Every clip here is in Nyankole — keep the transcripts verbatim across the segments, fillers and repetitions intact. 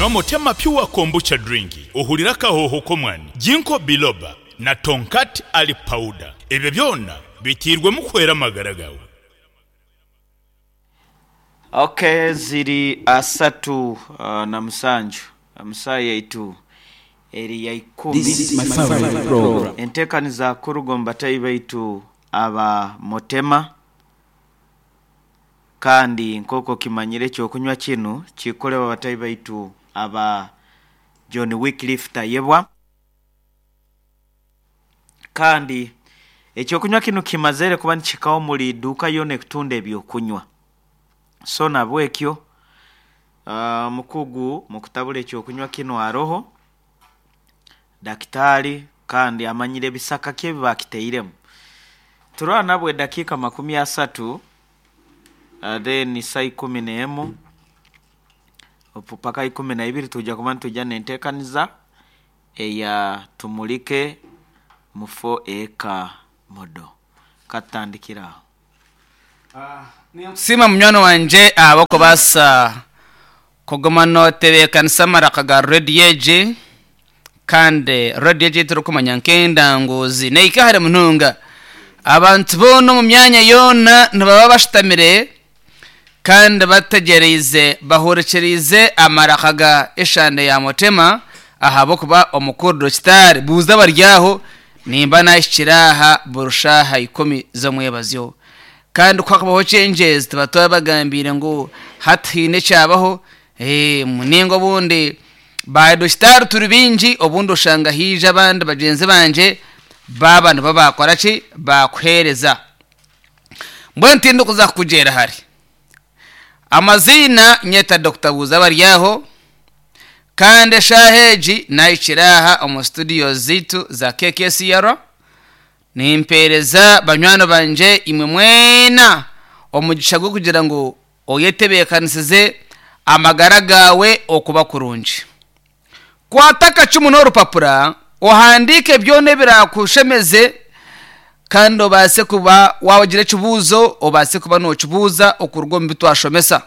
Nywa Motema Pure Kombucha Drink ohurire akahooho k'omwani, Ginkgo Biloba na Tongkat Ali Powder. Ebyo byona biteirwemu kuhwera amagara gaawe. Ok, ziri asatu uh, na musanju omu saaha yaitu eri ya ikumi. This is my favorite program. Enteekaniza kuruga omu batahi baitu aba Motema, kandi nk'oku okimanyire ekyokunywa kinu kikukorebwa batahi baitu aba John Wycliffe Tayebwa. Kandi ekyokunywa kinu kimazire kuba nikihikaho omuri iduuka yoona ekutunda ebyokunywa. So nabwekyo uh, omukugu mukutabura ekyokunywa kinu aroho dakitaari kandi amanyire ebisaka ki ebi bakiteiremu. Turaba nabwe edakiika makumi asatu uh, then saa ikumi n'emu opu paka ikumi na ibiri tuja kuba nituja n'enteekaniza eya Tumulike Mufo Eka Modo. Katutandikire aho. Ninkusiima munywani wangye ahabw'okubaasa kuguma nootebeekanisa amaraka ga rediyo egi, kandi rediyo egi ei turikumanya nk'endanguzi neehika hare munonga. Abantu boona omu myanya yoona nibaba bashutamire kandi bategyereize bahurikiriize amaraka ga eshande ya Mutema, ahabw'okuba omukuru Dokitaari Buuza bari aho nimba naahikire aha buri shaaha ikumi z'omwebazyo. Kandi ku hakubaho changes tuba twabagambiire ngu hati haine ekyabaho, eh, ninga obundi ba Dokitaari turi baingi, obundi oshanga haija abandi bagyenzi bangye baaba nibo baakora ki baakuheereza. Mbwenu tindikuza kukugyera hare. Amaziina nyeta Dokita Buuza bari aho, kandi eshaaha egi naahikire aha omu studio zaitu za K K C R, nimpeereza banywani bangye imwe mwena omugisha gw'okugira ngu oyetebeekanisize amagara gaawe okuba kurungi. Kwata akacumu n'orupapura ohandiike byona ebiraakushemeze, kandi obaase kuba waagira ekibuuzo obaase kuba nookibuuza okuruga omu bi twashomesa.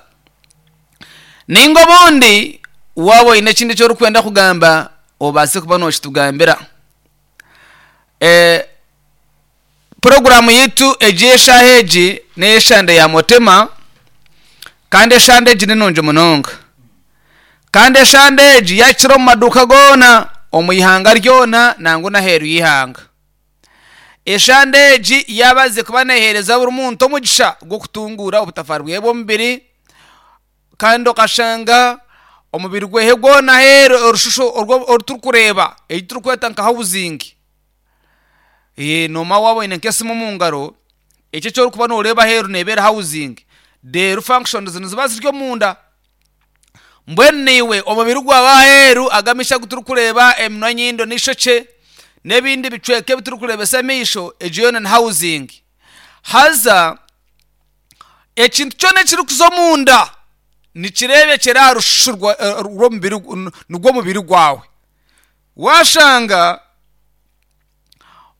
Ninga obundi waaba oine ekindi eki orikwenda kugamba obaase kuba nookitugambira. Eh, puroguraamu yaitu egi eshaaha egi n'ey'eshande ya Motema, kandi eshande egi ni nungi munonga. Kandi eshande egi yakira omu maduuka goona omu ihanga ryona nangwa n'aheeru y'ihanga. Eshande egi yaabaze kuba neeheereza buri muntu omugisha gw'okutunguura obutafaari bwe bw'omubiri, kandi okashanga omubiri gwehe gwona aheeru orushusho oru turikureeba ei turikweta nka housing. Eh, noomanya waaba oine nk'esimu omu ngaro, ekyo eki orikuba nooreeba aheeru neeba eri housing, reero functions niziba ziri omunda. Mbwenu naiwe omubiri gwawe aheeru aga amaisho agu turikureeba, eminwa, enyindo n'eishokye n'ebindi bicweka ebi turikureebesa amaisho, egyo yoona ni housing. Haza ekintu kyona ekirikuza omunda nikireebekyera aha rushusho rw'omubiri nigwo mubiri gwawe. Waashanga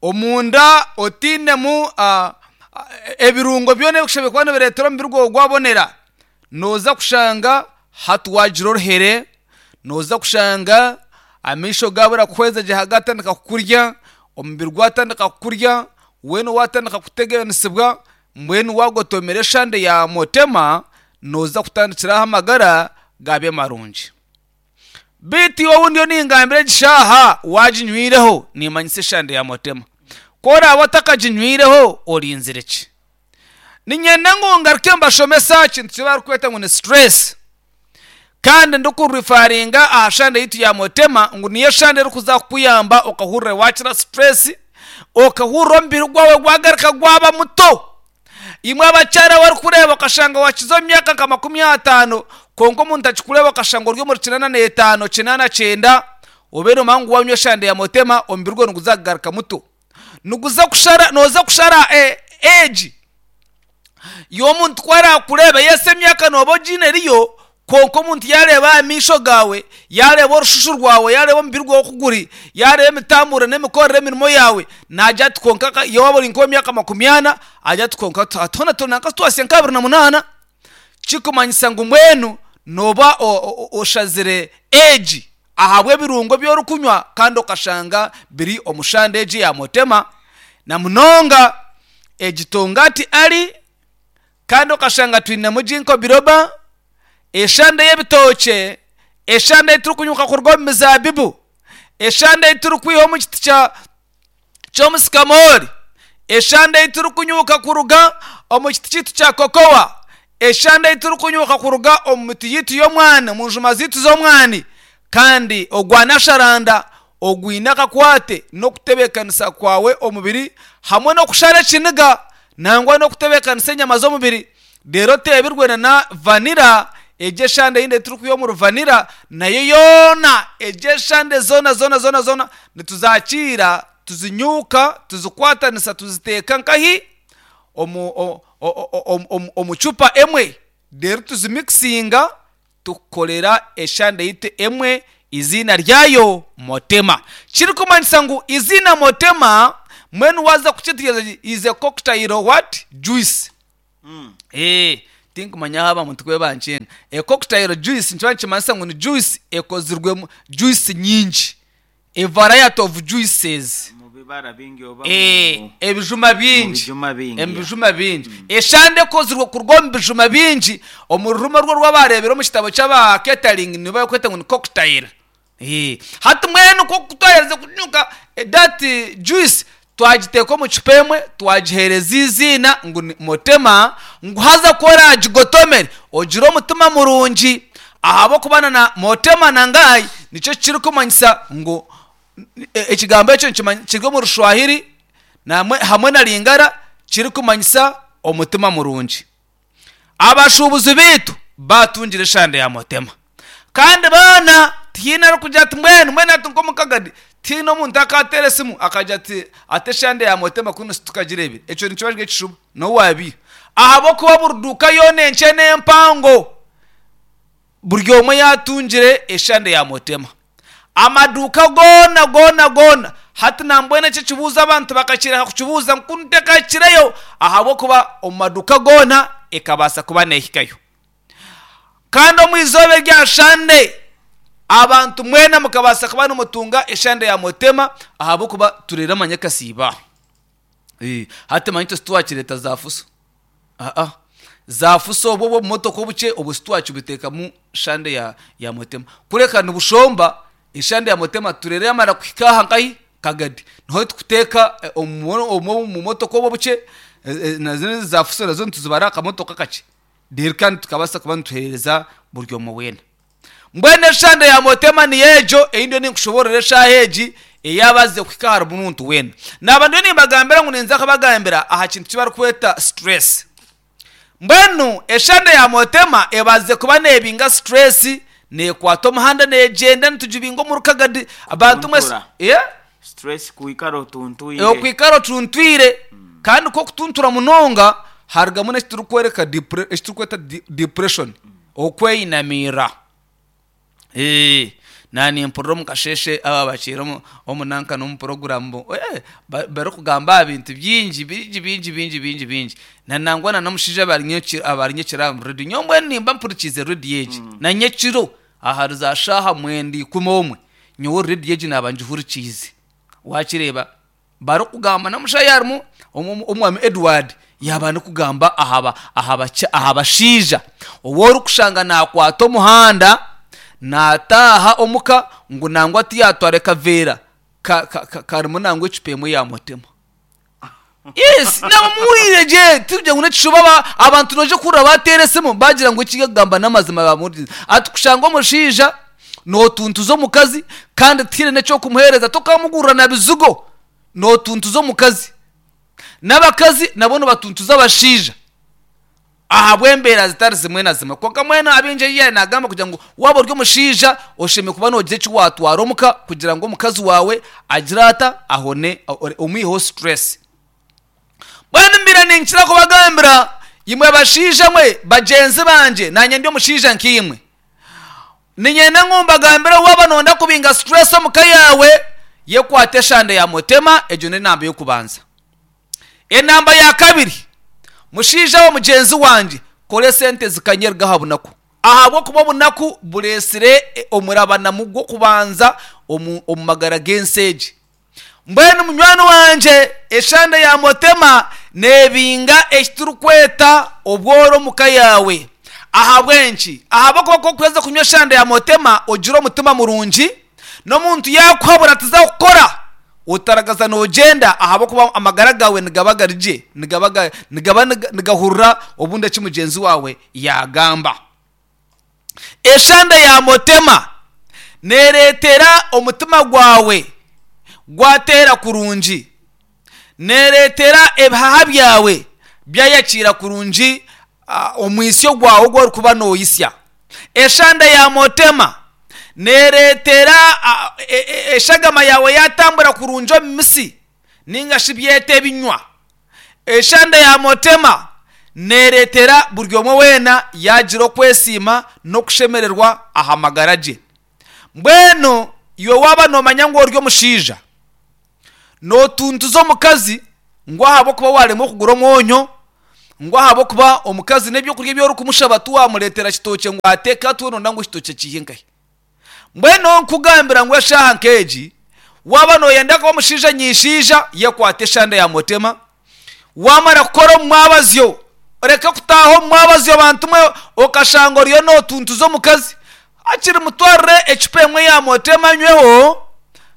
omunda otainemu uh, ebirungo byona ebikushemereire kuba nibireetera omubiri gwawe gwabonera, nooza kushanga hati waagira oruhere, nooza kushanga amaisho gaabura kuhweza gye gatandika kukurya, omubiri gwatandika kukurya, weena waatandika kuteganisibwa. Mbwenu waagotomera eshande ya Motema nooza kutandikiraho amagara gabe marungi. Beitu iwe obundi yo ningambira egi shaaha waaginywireho, nimanyisa eshande ya Motema. Ku oraabe otakaginywireho orinzire ki? Niinyenda ngu ngaruke mbashomese aha kintu eki barikweta ngu ni stress. Kandi ndikureferringa aha shande yaitu ya Motema ngu niyo eshande erikuza kukuyamba okahurira waakira stress, okahurira omubiri gwawe gwagaruka gwaba muto. Imwe abakyara abarikureeba okashanga waakiza omu myaka nka makumi ataano, kwonka omuntu akikureeba okashanga ori omuri kinaana n'etaano, kinaana kyenda, obe noomanya ngu waanywa eshande ya Motema omubiri gwawe niguza kugaruka muto. Niguza kushara, nooza kushara age y'omuntu ku araakureeba, yes emyaka nooba ogiine eriyo, kwonka omuntu yaareeba aha maisho gaawe, yaareeba orushushu rwawe, yaareeba omubiri gwawe oku guri, yaareeba emitamburire n'emikorere y'emirimo yaawe, naagira ati kwonka waaba ori nk'ow'emyaka makumi ana, agira ati kwonka hoona turi nanka twahitsya nka abiri na munaana. Kikumanyisa ngu mbwenu Noba oshazire egi ahabw'ebirungo by'orikunywa, kandi okashanga biri omu shande egi ya motema, na munonga egi tongati ari, kandi okashanga twinemu ginkgo biloba, eshande y'ebitookye, eshande ei turikunyuka kuruga omu mizaabibu, eshande ei turikwiha omu kiti kya ky'omusikamoori, eshande ei turikunyuka kuruga omu kiti kyaitu kya kokowa, eshande ei turikunyuka kuruga omu miti yaitu y'omwani, omu njuma zaitu z'omwani, kandi ogwa nasharanda ogwine akakwate n'okutebeekanisa kwawe omubiri hamwe n'okushara ekiniga, nangwa n'okutebeekanisa enyama z'omubiri. Reero oteebirwe na na vanira egi eshande eyindi ei turikwiha omuri vanira nayo yoona, egi eshande zoona zoona zoona zoona nituzakiira, tuzinyuuka, tuzikwatanisa, tuziteeka nkahi omu o- o- o- omu omu cupa emwe, reero tuzimikisinga, tukukorera eshande yaitu emwe, eiziina ryayo Motema. Kirikumanyisa ngu eiziina Motema mbwenu waaza kukyetegyereza, is a cocktail what? Juice. Eh, tinkumanya aha abantu ku bankyenga. A cocktail juice nikiba nikimanyisa ngu ni juice ekozirwemu juice nyingi, a variety of juices. Mu bibara bingi oba Eh, mu- ebijuma mu bingi, bijuma bingi. ebijuma bingi, eshande ekozirwe kuruga omu bijuma bingi. Omu rurimi rwo rw'abareebire omu kitabo ky'aba catering nibakweta ngu ni cocktail. Eh, hati mbwenu nk'oku twaherize kunyuka that juice, twagiteeka omu cupa emwe, twagiheereza eiziina ngu ni Motema, ngu haza ku oragigotomere ogire omutima murungi, ahabw'okuba na na Motema nangahi nikyo kirikumanyisa ngu e- ekigambo ekyo nikimany- kiri omu Rushwahiri namwe hamwe na Lingara, kirikumanyisa omutima murungi. Abashuubuzi baitu batungire eshande ya Motema, kandi baana tihaine arikugira ati mbwenu mbwenu ati nk'omukagadi tihaine omuntu akateera esimu akagira ati ate eshande ya Motema kunu situkagireebire. Ekyo nikiba kiri ekishuba, n'owaabiiha, ahabw'okuba buri duuka yoona enkye n'empango buri omwe yaatungire eshande ya Motema, amaduuka goona goona goona. Hati nambwenu eki ekibuuzo abantu bakakireka kukibuuza ngu kunu tekahikireyo, ahabw'okuba omu maduuka goona ekabaasa kuba neehikayo. Kandi omu izooba erya shande abantu mwena mukabaasa kuba nimutunga eshande ya Motema, ahabw'okuba tureere amanyakasiiba. Eh, hati manya itwe titwakireeta za fuso, aa, za fuso obwo obumotoka obukye obwo sitwakibiteekamu shande ya, ya Motema, kureka nibushomba eshande ya Motema. Tureere yamara kuhika aha nkahi Kagadi, niho tukuteeka eh, omu omu- omu motoka obwo obukye, eh, eh, nazo za fuso nazo nituzibara akamotoka kakye, reero kandi tukabaasa kuba nituheereza buri omwe weena. Mbwenu eshande ya Motema niyo egyo ei ndiyo ninkushoboorora eshaaha egi, eyaabazize kuhika ahari muntu weena. Naaba ndiyo nimbagambira ngu ninza kubagambira aha kintu eki barikweta stress. Mbwenu eshande ya Motema ebazize kuba neebinga stress, neekwata omuhanda neegyenda, nitugibinga omu Rukagadi abantu mwese. Kutuntura. Yeah? Stress kwikara otuntwire. Okwikara otuntwire, kandi nk'okutuntura munonga harugamu n'ekiturikworeka depre- ekiturikweta de- depression, okweyinamiira. Eh, nanimpurira omu kasheeshe aba bakiire omu- omu nanka n'omu puroguramu bo- eh, ba- barikugamba aha bintu bingi bingi bingi bingi bingi bingi, na nangwa na n'omushaija abari nyekiro abari nyekiro aha rediyo. Nyowe mbwenu nimba mpurikiize rediyo egi na nyekiro ahari za shaaha mwenda ikumi omwe, nyowe rediyo egi naaba ngihurikiize. Wakireeba barikugamba n'omushaija harimu omu- omwami Edward yaaba nikugamba aha ba- aha baky- aha bashaija ou orikushanga nakwata omuhanda naataaha omuka ngu nangwa tiyatwara ekaveera ka- ka- ka- karimu nangwa ecupa emwe ya Motema. Yes, namuhurire gye, tikugira ngu n'ekishuba. aba- abantu noija kuhurira bateera esimu bagira ngu eki yakugamba n'amazima bamuhurikize, ati kushanga omushaija nootuntuza omukazi kandi tihaine n'ekyokumuheereza, tokamugurira na bizigo, nootuntuza omukazi, n'abakazi nabo nibatuntuza abashaija ahabw'embeera zitari zimwe na zimwe. Kwonka mbwenu abaingi ei nagamba kugira ngu waaba ori omushaija oshemereire kuba noogira eki waatwara omuka kugira ngu omukazi waawe agire ata ahone, omwiheho stress. Mbwenu mbaire ninkira kubagambira imwe bashaija mwe bagyenzi bangye, naanye ndi omushaija nkaimwe, niinyenda ngu mbagambire, waaba nooyenda kubinga stress omuka yaawe, yekwate eshande ya Motema. Egyo n'enamba y'okubanza. Enamba ya kabiri, mushaija we mugyenzi wangye, kora esente zikanyerga aha bunaku. Ahabw'okuba obunaku bureesire omurabanamu gw'okubanza omu omu magara g'ensi egi. Mbwenu munywani wangye, eshande ya motema neebinga eki turikweta obworo omu ka yaawe. Ahabw'enki? Ahabw'okuba ku orikuheza kunywa eshande ya motema ogira omutima murungi, n'omuntu yaakuhabura tiza kukora, otaragaza noogyenda ahabw'okuba amagara gaawe nigaba gari gye, nigaba ga nigaba nigahurira obundi eki mugyenzi waawe yaagamba. Eshande ya motema neereetera omutima gwawe gwateera kurungi, neereetera ebihaha byawe byayakiira kurungi omwitsyo gwawe ogu orikuba nooyitsya. Eshande ya motema neereetera eshagama yaawe yaatambura kurungi omu mitsi nainga shi byete ebinywa. Eshande ya motema neereetera buri omwe weena yaagira okwesiima n'okushemererwa aha magara gye. Mbwenu iwe waaba noomanya ngu ori omushaija, nootuntuza omukazi ngu ahabw'okuba waaremwa okugura omwonyo, ngu ahabw'okuba omukazi n'ebyokurya ebi orikumushaba tiwamureetera kitookye ngu ateeke hati we nooyenda ngu ekitookye kiihe nkahi? Mbwenu nkugambira ngu eshaaha nk'egi, waaba nooyenda kuba omushaija nyaishaija, yekwate eshande ya motema, waamara kukora omu mwabazyo, oreke kutaaha omu mwabazyo bantu mwe okashanga oriyo nootuntuza omukazi, hakiri mutwarire ecupa emwe ya motema anyweho,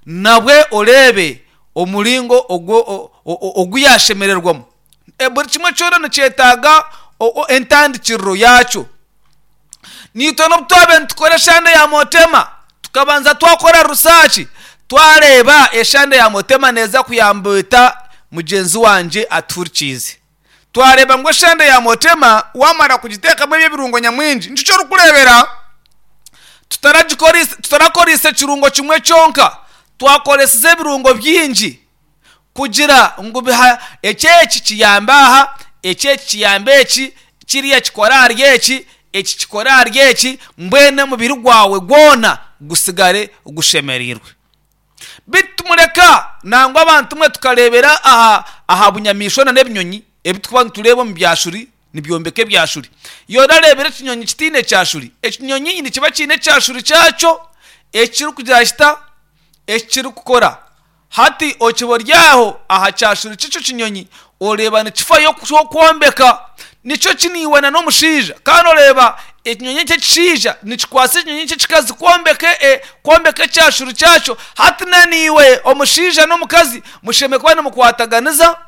nabwe oreebe omuringo ogu ogu yaashemererwamu. Buri kimwe kyona nikyetaaga entandikiriro yaakyo. Naitwe n'obu twabaire nitukora eshande ya motema, tukabanza twakora research, twareeba eshande ya motema neeza kuyamba eta mugyenzi wangye atuhurikiize. Twareeba ngu eshande ya motema waamara kugiteekamu ebi ebirungo nyamwingi, nikyo orikureebera tutarakoreise ekirungo kimwe kyonka, twakoresize ebirungo bingi kugira ngu eki eki kiyambe aha, eki eki kiyambe eki, kiriya kikore ahari eki, eki kikore ahari eki, mbwenu omubiri gwawe gwona gusigare gushemereirwe. Beitu tumureka nangwa abantu mwe tukareebera aha aha bunyamaishwa n'ebinyonyi ebi turikuba nitureeba omu byashuri nibyombeka ebyashuri. Iwe orareebire ekinyonyi kitaine kyashuri? Ekinyonyi nikiba kiine ekyashuri kyakyo ekirikugira kita? Ekirikukora. Hati okiba ori aho aha kyashuri ky'ekyo kinyonyi oreeba nikifayo kwombeka. Nikyo ki naiwe n'omushaija kandi oreeba ekinyonyi eki ekishaija nikikwasa ekinyonyi eki ekikazi kwombeka kwombeka ekyashuri kyakyo. Hati na naiwe omushaija n'omukazi mushemereire kuba nimukwataganiza,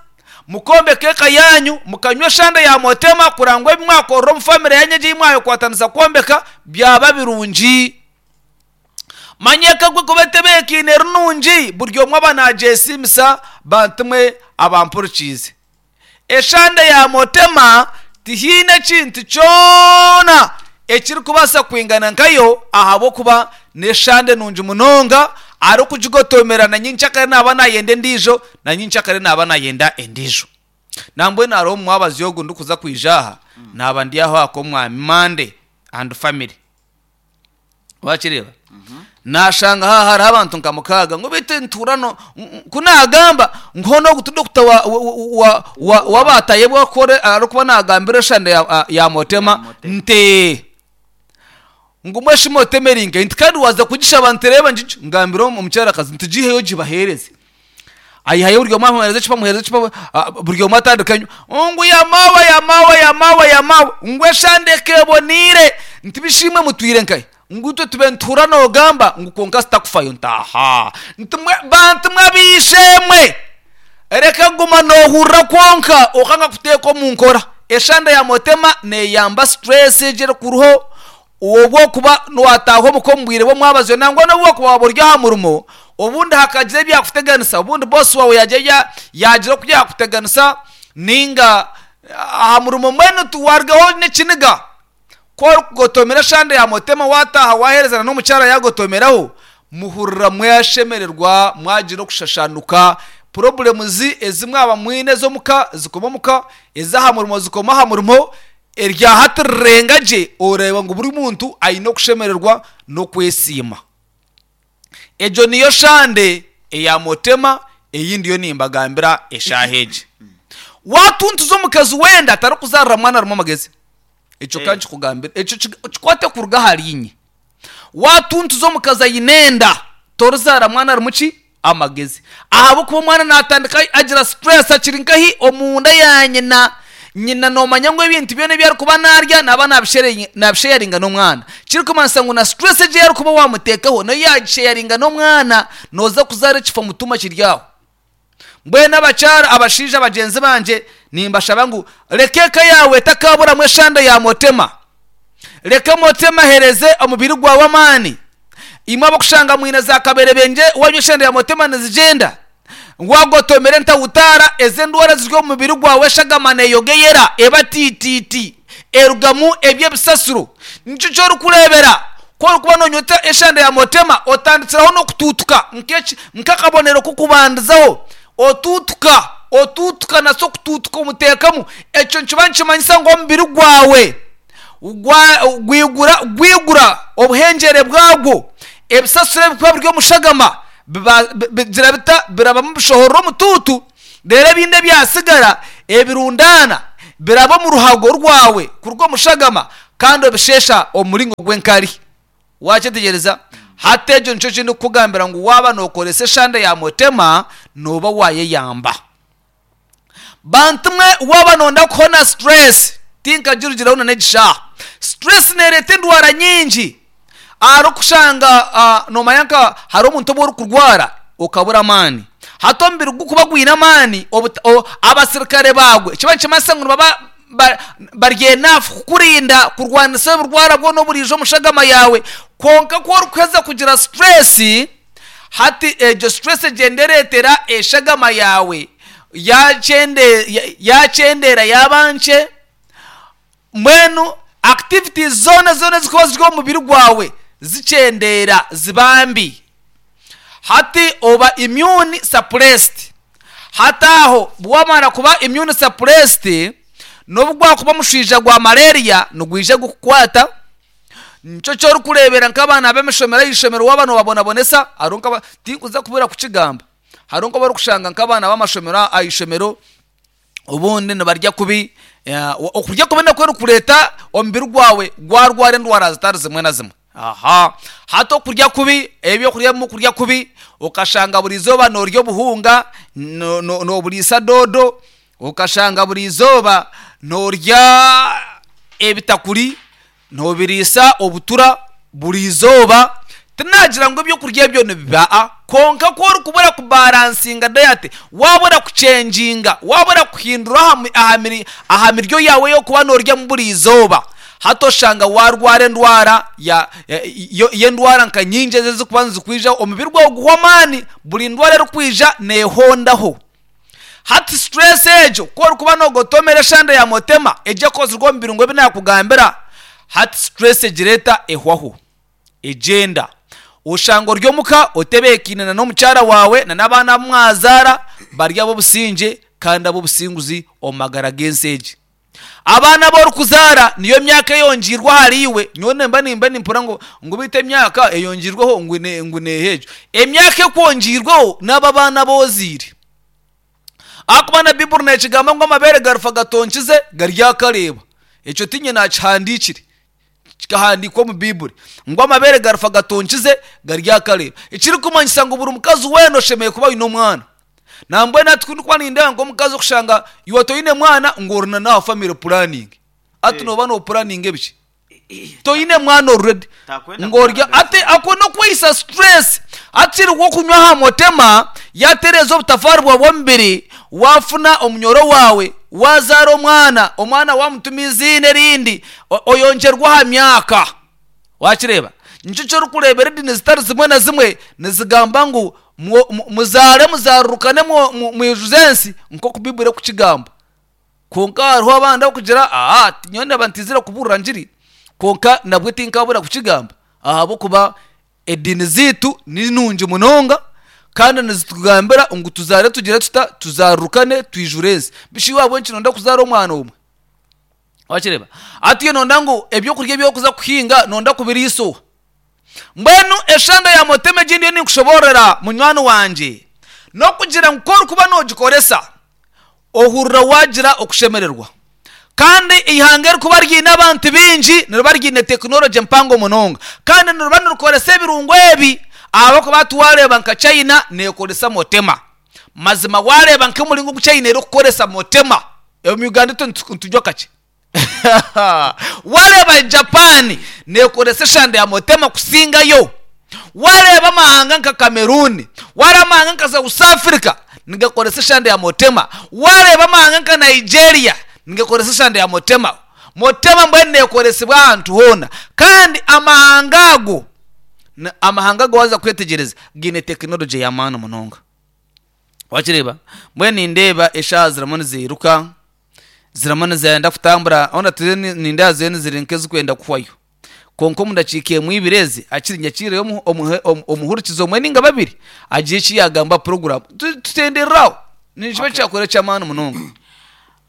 mukombeka eka yaanyu, mukanywa eshande ya motema kureba ngu ebi mwakorera omu famire yaanyu egi ei mwayekwatanisa kwombeka byaba birungi. Manya eka ku erikuba etebeekaine eri nungi, buri omwe aba naagyesiimisa bantu mwe abampurikiize. Eshande ya motema tihaine ekintu kyona ekirikubaasa kwingana nkayo ahabw'okuba n'eshande nungi munonga, arikugigotomera na nyenkyakare naaba naayenda endiijo, na nyenkyakare naaba naayenda endiijo. Nambwenu hariho omumwabazyo ogu ndikuza kwija aha, naaba ndi aho aha k'omwami Monday and family. Wakireeba? Naashanga haaha hariho abantu nka mukaaga ngu beitu nituhurira no ku naagamba ngu hoona ogu ti dokita wa wa wa w'abatayebwa kukora arikuba naagambira eshande ya ya motema nti ngu mbwenu shi motema eri nkahi? Nti kandi waaza kugishaba nti reeba ngigi ngambire omukyarakazi nti giiheyo ogibaheereze. Aihayo buri omwe amuheereza ecupa amuheereza ecupa buri omwe atandika anywa. Ngu yamaawe yamaawe yamaawe yamaawe ngu eshande eka eboneire nti bishi imwe mutwire nkahi? Ngu itwe tube nituhurira noogamba ngu kwonka sitakufayo nti ahaa nti mwe bantu mwe ab'eishe-emwe reka kuguma noohurira kwonka okanga kuteeka omu nkora. Eshande ya motema neeyamba stress egi erikuruho obu okuba waataaha omuka omu bwire bw'omwabazyo nangwa n'obu wakuba waaba ori aha murimo obundi hakagira ebyakuteganisa obundi bosi waawe yaagira yaagira oku yaakuteganisa nainga aha murimo mbwenu warugaho n'ekiniga ku orikugotomera eshande ya motema waataaha waaheerezana n'omukyara yaagotomeraho muhurira mwashemererwa mwagira okushashanuka problems ezi mwaba mwine ez'omuka zikoma omuka ez'aha murimo zikoma aha murimo erya hati rirenga gye oreeba ngu buri muntu aine okushemererwa n'okwesiima. Egyo niyo shande eya motema ei ndiyo nimbagambira eshaaha egi. Waatuntuza omukazi wenda tarikuzaarira mwana arimu amagezi. Ekyo Eh. kankikugambira, ekyo kig- kikwate kuruga ahari inye. Watuntuza omukazi aine enda, torizaara mwana arimu ki? Amagezi. Ahabw'okuba omwana natandika agira stress akiri nkahi? Omunda ya nyina. Nyina nomanya ngu ebintu byona ebi arikuba narya naba nabishere- nabisheyaringa n'omwana, kirikumanyisa ngu na stress egi arikuba wamuteekaho nayo yagisheyaringa n'omwana, noza kuzaara ekifo mutuma kiri aho. Mbwenu abakyara, abashaija bagyenzi bangye, nimbashaba ngu reka eka yawe etakaburamu eshanda ya motema. Reka motema ahereze omubiri gwawe amaani. Imwe abakushanga mwine za kaberebenje, wanywa eshanda ya motema nizigyenda, wagotomera entawutara, ezi endwara ziri omu mubiri gwawe, eshagama neyogeyera eba tititi, erugamu eby'ebisasiro. Nikyo ky'orikureebera ku orikuba nonywa eshanda ya motema, otandikiraho n'okutuutuka nk'eki- nk'akabonero k'okubandizaho. Otuutuka, otuutuka, nasi okutuutuka omuteekamu, ekyo nikiba nikimanyisa ngu omubiri gwawe gwa- gwigura gwigura obuhengyere bwagwo, ebisasiro ebikuba biri omushagama biba- bi- bigira bita? Birabamu bishohorera omutuutu, reero ebindi ebyasigara ebirundana biraba omu ruhago rwawe kuruga omushagama, kandi obishesha omu muringo gw'enkari. Wakyetegereza? Hati ekyo nikyo kindi kukugambira ngu waaba nokoresa eshanda ya motema, nooba wayeyamba. Bantu mwe, waaba nonda kuhona stress, tinkagirugiraho na n'egishaha. Stress nereeta endwara nyingi. Ahari okushanga uh, nomanya nka hari omuntu obu orikurwara okabura amaani, hati omubiri gukuba gwine amaani, obuta- o- abasirikare bagwe kiba nikimanyisa ngu nibaba ba- bari enough kukurinda kurwanisa oburwara bwona oburiija omushagama yawe. Kwonka ku orikuheza kugira stress, hati egyo stress egyenda ereetera eshagama yawe yakyende- ya- yakyendera, yaba nkye. Mbwenu activities zoona zoona ezikuba ziri omu mubiri gwawe zikyendera, ziba mbi. Hati oba immune suppressed. Hati aho wamara kuba immune suppressed, n'obu gwakuba omushwija gwa malaria nigwija gukukwata. Nikyo ky'orikureebera nk'abaana b'emishomero, ah'ishomero waaba nobabonabonesa, hariho nk'aba, tinkuza kubura kukigamba, hariho nk'abarikushanga nk'abaana b'amashomero ah'ishomero obundi nibarya kubi. eh, okurya kubi nakwo nikureeta omubiri gwawe gwarwara endwara zitari zimwe na zimwe. Aha, hati okurya kubi, ebyokurya bimwe okurya kubi, okashanga buri izooba norya obuhunga, no- no- noburiisa doodo, okashanga buri izooba norya ebitakuri, nobiriisa obutura buri izooba. Tinagira ngu ebyokurya ebyo nibiba a, kwonka ku orikubura kubaransinga diet, wabura kucenjinga, wabura kuhindura aha mi- aha miri- aha miryo yawe y'okuba noryamu buri izooba, hati oshanga warwara endwara ya ya- yo- y'endwara nka nyingi ezi ezikuba nizikwija. Omubiri gwawe guhwa amaani, buri ndwara erikwija neehondaho. Hati stress egyo, ku orikuba nogotomera eshanda ya motema egyo ekozirwe omu birungo ebi nakugambira, hati stress egireeta ehwaho, egyenda. Oshanga ori omuka otebeekaine na n'omukyara wawe na n'abaana abu mwazaara bari ab'obusingye kandi ab'obusinguzi omu magara g'ensi egi. Abaana abu orikuzaara niyo myaka eyongiirwe ahari iwe. Nyowe nimba nimba nimpura ngu ngu beitu emyaka eyongiirweho ngu ne- ngu neeha? Egyo emyaka ekwongiirweho n'abo abaana aboziire, ahakuba na Biburi nekigamba ngu amabeere garufa gatonkize garyakareeba. Ekyo tinye nakihandiikire, kikahandiikwa omu Biburi ngu amabeere garufa gatonkize garyakareeba, ekirikumanyisa ngu buri mukazi weena oshemereire kuba aine omwana. Nambwenu hati kundikuba nindeeba nk'omukazi okushanga iwe toine mwana, ngu orina n'aha family planning, ati Eh. nooba nopuraninga ebiki toine mwana already? Takwenda ng'orya kuzaara. Ati ako n'okweyisa stress. Akiriho okunywa aha motema yatereeza obutafaari bwawe bw'omubiri, wafuna omunyoro wawe, wazaara omwana, omwana wamutuma iziina erindi, o- oyongyerwa aha myaka. Wakireeba? Nikyo ky'orikureebera edini zitari zimwe na zimwe nizigamba ngu mwo- mu- muzaare, muzarurukane, mwo- mu- mwijuze ensi nk'oku Biburi ekukigamba. Kwonka hariho abandi abakugira aha, nyowe ndaba ntizire kuburira ngiri, kwonka nabwe tinkabura kukigamba, ahabw'okuba edini ziitu ni nungi munonga kandi nizitugambira ngu tuzaare, tugire tuta? Tuzarurukane, twijure ensi. Bishi iwe nki nonda kuzaara omwana omwe? Wakireba? Ati nonda ngu ebyokurya ebyokuza kuhinga nonda kubiriisa oha? Mbwenu eshanda ya motema egindi yo ninkushoborera, munywani wangye, n'okugira ngu ku orikuba nogikoresa, ohurira wagira okushemererwa. Kandi ihanga erikuba ryine abantu bingi niriba ryine tekinologi mpango munonga, kandi niriba nirikoresa ebirungo ebi. Ahabw'okuba tiwareeba nka China neekoresa motema. Mazima wareeba nk'omuringo ogu China erikukoresa motema, omu Uganda itwe nitujwa kakye. Wareeba Japan neekoresa eshande ya motema kusingayo. Wareeba amahanga nka Cameroon, wareeba amahanga nka South Africa nigakoresa eshande ya motema. Wareeba amahanga nka Nigeria nigakoresa eshande ya motema. Motema mbwenu neekoresibwa ahantu hoona. Kandi amahanga ago, amahanga ago waaza kwetegyereza gaine tekinologi y'amaani munonga. Wakireeba? Mbwenu nindeeba eshaaha zirimu niziiruka, zirimu nizenda kutambura, hoona turiyo nindeeba ziriyo niziri nk'ezirikwenda kuhwayo. Kwonka omu dakiika emwe ibiri ezi, hakiri nyakiireyo omuhurikizi omwe nainga babiri agire eki yaagamba aha puroguraamu. Tutenderere aho. Nikiba kyakora eky'amaani munonga.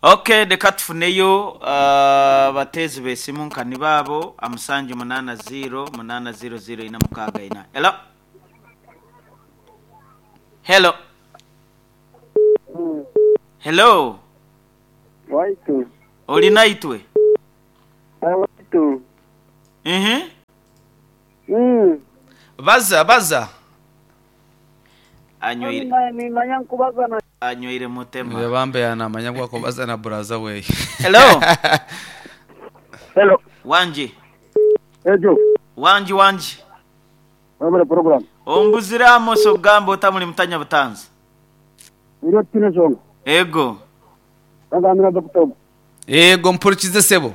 Okay, reka tufuneyo abateezi b'esimu nka nibo abo musanju munaana ziro munaana ziro ziro ina mukaaga ina. Hello? Hello? Hello? Waitu. Ori naitwe? Waitu. Mhm. Mm. Baza, baza. Anywire. Nimanya nkubaza na Anywire mutema. Bambe yanamanya ngu akubaza na buraza weye. Hello? Hello. Wanji. Ejo. Wanji wanji. Wabere program. Ombuzire Amos ogamba otamuli mutanya butanzi. Iro tine zongo. Ego. Bagambira Doctor. Ego mpurikize sebo.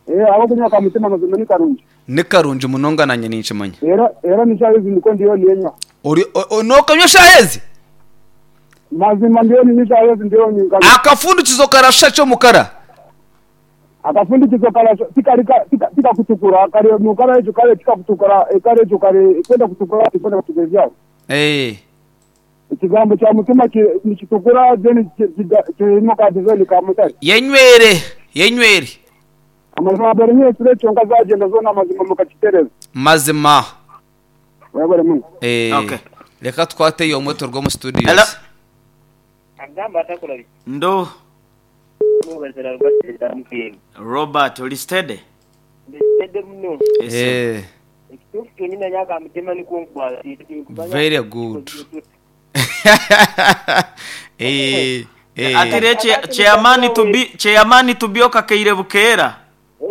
Eh abo kunywa ka mutima mazima ni karungi. Ni karungi munonga nanye ninkimanya. Era era nishaye niko ndiyo ninywa. Ori nokanywa shahezi? Mazima ndiyo nishaye ndiyo nyinga. Akafundikizo karasha cyo mukara. Akafundikizo karasha tikarika tika kutukura kare mukara ejo kare tika kutukura kare ejo kare kwenda kutukura kwenda kutukura. Eh. Ekigambo kya mutima nikitukura then kirimo ka design ka mutari. Yenywere, yenywere. Amazima abere nyine kyonka zagenda zona amazima mukakitereza. Mazima. Wabere mungu. Eh. Okay. Reka twate yo moto rwo mu studio. Hello. Agamba atakula. Ndo. Robert oli steady? Steady muno. Eh. Very good. Eh. Eh. Atire chairman to be chairman to be okakeire bukeera.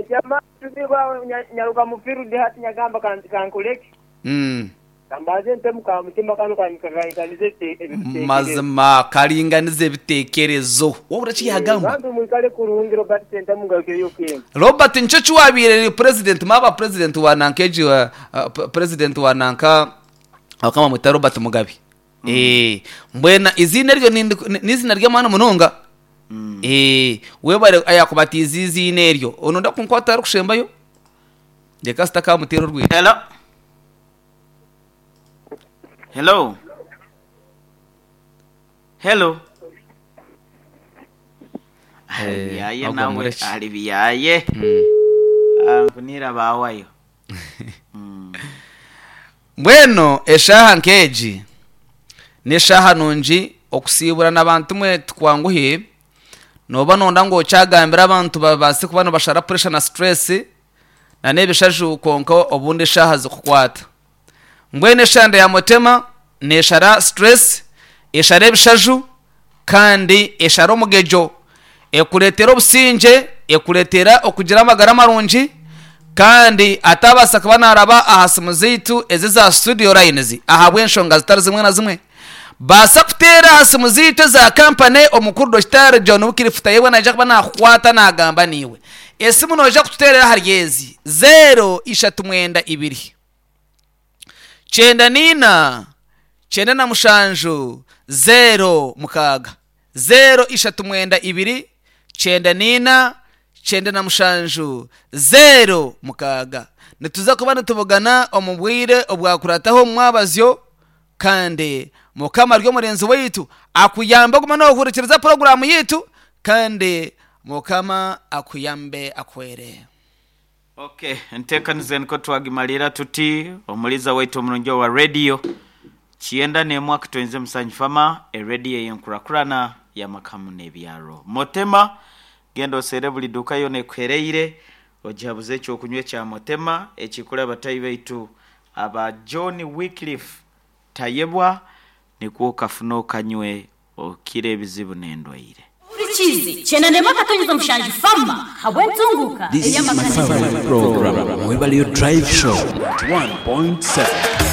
Chairman to be nyaruka mufiru de hati nyagamba kankuleki. Mm. Kambaze ntemu ka mutima kanu kanikaganize mazima karinganize ebitekerezo. Wabura ki yagamba? Bantu mwikale kurungi Robert Sentamu ngakeyo kwe. Robert ncho chiwabire president maba president wa nankeji wa uh, president wa nanka akama mwita Robert Mugabe. Mm. Eh mbwena izina ryo nizina ry'amana munonga. Mm. Eh webare ayakubatiza izina eryo ono ndakunkwata ari kushembayo. Ndeka sitakamutera urwira. Hello. Hello. Hello. Eh, yaye nawe ali biyaye. Mm. Ankunira bawayo. Mm. Mbweno eshaha nkeji neshaha nungi okusibura n'abantu mwe tukwanguhe noba nonda ngo cyagambira abantu babase kuba bashara pressure na stress na nebishaju konka obundi shaha zikukwata. Mbwene eshanda ya motema neshara stress eshara ebishaju kandi eshara omugejo ekuretera obusinge ekuretera okugira amagara marungi kandi atabasa kuba naraba aha simu zaitu ezi za studio lines ahabw'enshonga zitari zimwe na zimwe basa kutera aha simu zaitu za kampani omukuru Doctor John Wikirifuta yewe naija kuba nakukwata nagamba niwe esimu noja kututerera ahari ezi zero ishatu mwenda ibiri chenda nina chenda na mushanju zero mukaga zero ishatu mwenda ibiri chenda nina chenda na mushanju zero mukaga. Nituza kuba nitubugana omubwire obwakurataho mwabazyo kandi mukama ryo murenzi waitu akuyamba guma no kuhurikiriza programu yitu kandi mukama akuyambe akwere. Okay, ntekanize niko twagimalira tuti omuliza waitu omurungi wa radio Chienda nemwaka twenze musanyu fama e radio yenkurakurana ya makamu n'ebyaro. Motema Genda osere buli duka yona ekuhereire ogihabuze ekyokunywa ekya Motema ekikula abatayi baitu aba John Wycliffe Tayebwa, nikwo okafuna okanywe okira ebizibu n'endwaire. Burikizi kyenda akatonyeza omushanju fama habw'entunguka This is my favorite program, Mwebale Drive Show, one point seven.